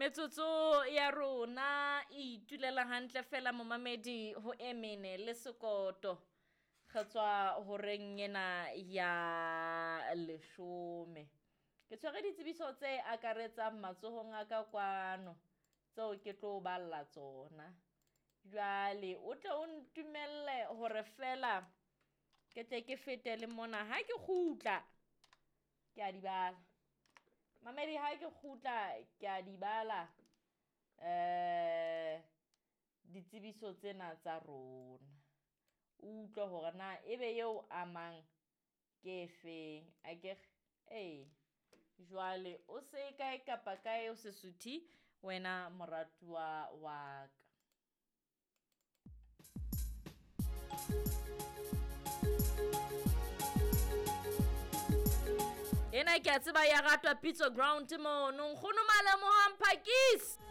Metsotso ya rona e itulela hantle fela momamedi ho e mene le sekoto. Re tswa horeng ena ya leshome. Ke tshwere ditsebiso tse akaretsang matsohong a ka kwano tseo ke tlo balla tsona. Jwale o tle o ntumelle hore fela ke tle ke fete le mona ha ke kgutla ke a di bala. Mamedi ha ke kgutla ke a di bala ditsebiso tsena tsa rona. O utlwe hore na ebe eo amang ke efeng akere? Ee. Jwale o se kae kapa kae o se suthe wena moratuwa wa ka. Ena ke a tseba ya ratwa Pitso Ground mono. Nkgono Malemohang Phakisi.